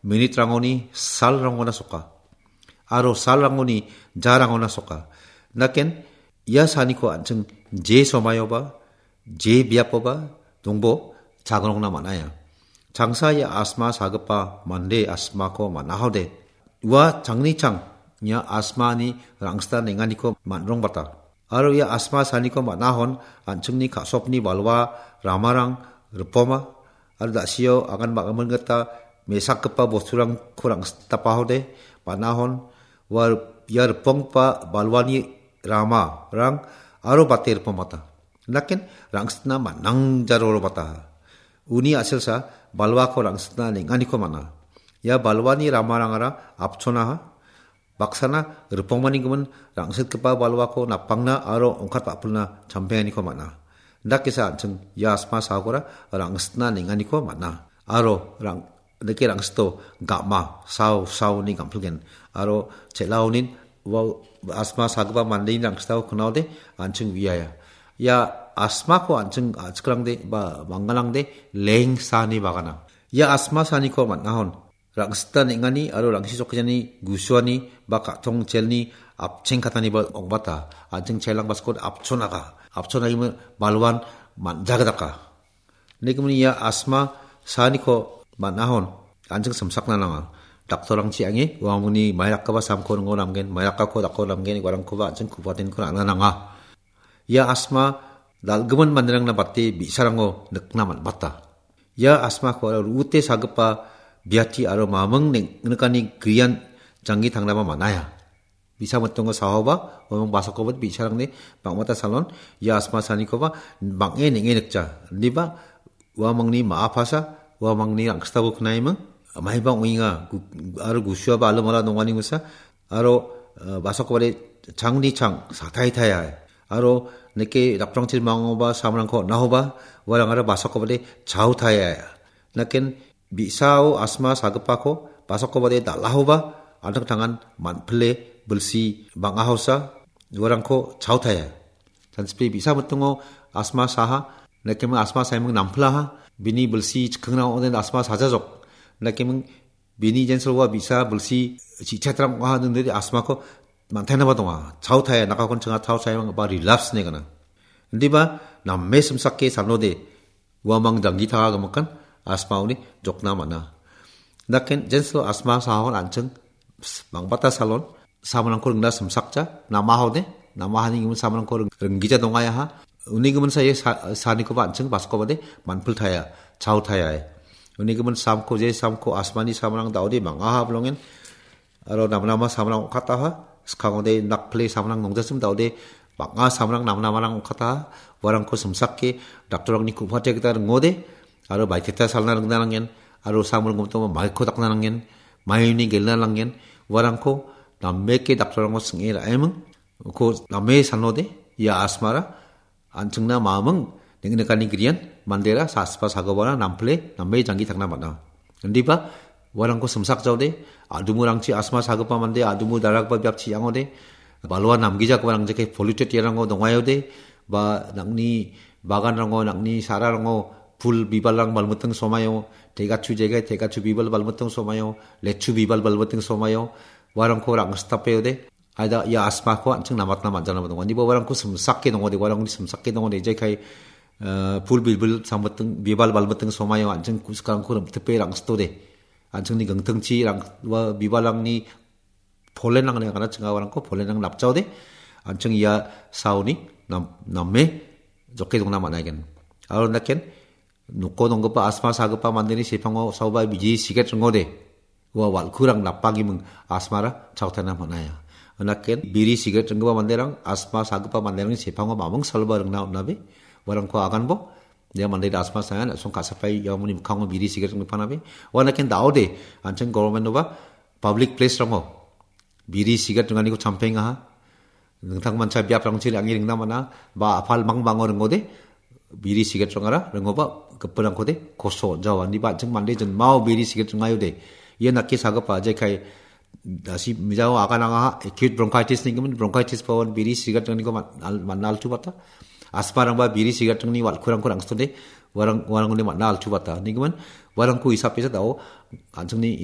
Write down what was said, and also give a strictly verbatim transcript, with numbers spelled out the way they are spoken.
minitrangoni salrangona soka. Aro salrangoni jarangona soka. Naken ia saniko an·ching je somaioba, je biapoba dongbo chagrongna man·aia. Changsa ia asma sagipa mande asmako man·ahode. Ua changni chang ia asmani rangsita nenganiko man·rongbata. Aro ia asma saniko man·ahon an·chingni ka·sokni balwa ramarang ripoma, aro da·sio agan bang·gimin gita mesakgipa bosturangko rangsitapahode man·ahon, ua ia riponggipa balwani ramarang aro bate ripomata. Naken rangsitna man·ang jarorobata. Uni a·selsa balwako rangsitna nenganiko man·a. Ia balwani ramarangara apchonaha, baksana ripongmanigimin rangsitgipa balwako napangna aro ongkat ba·pilna champenganiko man·a. Indakesa an·ching ia asma sagora rangsitna nenganiko man·a. Aro rang-, dake rangsito gam·a, sao, saoni gam·pilgen. Aro chel·aonin ua asma sagipa mandeni rangsitao knaode an·ching uiaia. Ia asmako an·ching a·chikrangde ba manggalangde leng saani bagana. Ia asma saaniko man·ahon rangsita neng·ani aro rangsi chokjani gusuani ba ka·tong chelni apcheng kataniba ong·bata. An·ching chelang baskot apchonaga. Apchonagimi balwan man·jagdaka. Nigimin ia asma saaniko man·ahon an·ching simsakna nanga. Daktorangchi ange uamangni mairakgipa samko ringo namgen, mairakako dako namgen, uarangkoba an·ching kubatenko ra·na nanga. Ia asma dal·gimin manderangna bate bi·sarango nikna man·bata. Ia asmako aro ru·ute sagipa biati aro maming neng-, nikani grian janggi tangnaba man·aia. Bi·sa mitingo sahoba, uamang basakoba bi·sarangni bang·bata salon, ia asma saanikoba bang·e neng·e nikja. Indiba uamangni ma·a pasa, uamangni rangsitabo knaiming, maibang ong·enga, gu-, aro gusuaba alomala donganimingsa, aro, eh, basakobade changni chang, satai taiai. Aro neke daprangchir mangoba, samrangko on·ahoba, uarangara basakobade chao taiai. Naken bi·sao asma sagipako basakobade dal·ahoba, an·tangtangan man·pile bilsi bang·ahosa, uarangko chaotaia. Sansipri bi·sa mitingo asma saha, nakeming asma saiming nampilaha, bini bilsi chikkingna ong·den asma sajajok. Nakeming bini jensilwa bi·sa bilsi chi·chatrang ong·aha, indiri asmako man·tainaba donga. Chaotaia, nakakon chinga chaotaia ba relapse ne gana. Indiba name simsake sanode, uamang janggi tanga gimikan asmaoni jokna man·a. Naken jensilo asma sahon an·ching bang·bata salon, samrangko ringna simsakja, namahode, namahani gimin samrangko ring-, ringgija dongayaha. Uni gimin saye sa-, sanikoba an·ching baskobade manpil taya, chao taya. Uni gimin samko, je samko asmani samrang daode bang·aha bilongen. Aro namnama samrang ong·kataha, skangode nakple samrang nongjasim daode, bang·a samrang namnamarang ong·kataha, uarangko simsake, daktorangni ku·pate gita ringode, aro baiteta salna ringna nangen, aro samrang gomtoma maiko dakna nangen, maini gelna nangen, uarangko nameke daktorangko sing·e ra·eming, uko name sanode, ia asmara, an·chingna maming neng·nikani grian mandera saspa sagobara nample name janggi tangna man·a. Indiba uarangko simsakjaode, adumurangchi asma sagipa mande, adumu daragipa biapchi angode, balwa namgijagiparang jeke polluted iarango dongaiode, ba nang·ni baganrango, nang·ni sararango pul bibalrang balmiting somaio, tegachu jegai, tegachu bibal balmiting somaio, lechu bibal balmiting somaio, uarangko rang·sitapeode, Aida ia asmako an·ching namatna man·jana donga. Niba uarangko simsake dongode, uarangni simsake dongode, jekai, eh, pul bilbil sambiting, bibal balbiting somaio an·ching kuskarangko rimtipe rang·sitode. An·chingni gingtingchi rang-, ua bibalrangni polenrangni agana chinga uarangko polenrang napjaode. An·ching ia saoni nam-, name joke dongna man·aigen. Aro naken, noko donggipa asma sagipa mandeni sepango saoba biri sigaret ringode. Ua wal·kurang napagiming asmara chaotana man·aia. Naken biri sigaret ringgipa manderang asma sagipa manderangni sepango maming saloba ringna on·abe. Uarangko aganbo. Ia mande asma sayan, asong ka·sapai iamoni mikkango biri sigaret ringpanabe. Ua naken daode, an·ching government-oba public place-rango biri sigaret ringaniko champengaha. Dingtang mancha biaprangchi re·ange ringna man·a, ba apal mangbango ringode, biri sigaret rongara ringoba gipinrangkode koso on·jawa. Indiba an·ching mande jinmao biri sigaret ringaiode. Ia nake sagipa jekai dasi mijao aganangaha acute bronchitis nigimin bronchitis pawan biri sigaret ringaniko man-, al-, man·a altu bata. Asmarangba biri sigaret ringni wal·kurangko rang·sitode, uarang-, uarangode man·a altu bata. Nigimin uarangko hisap pesa dao, an·chingni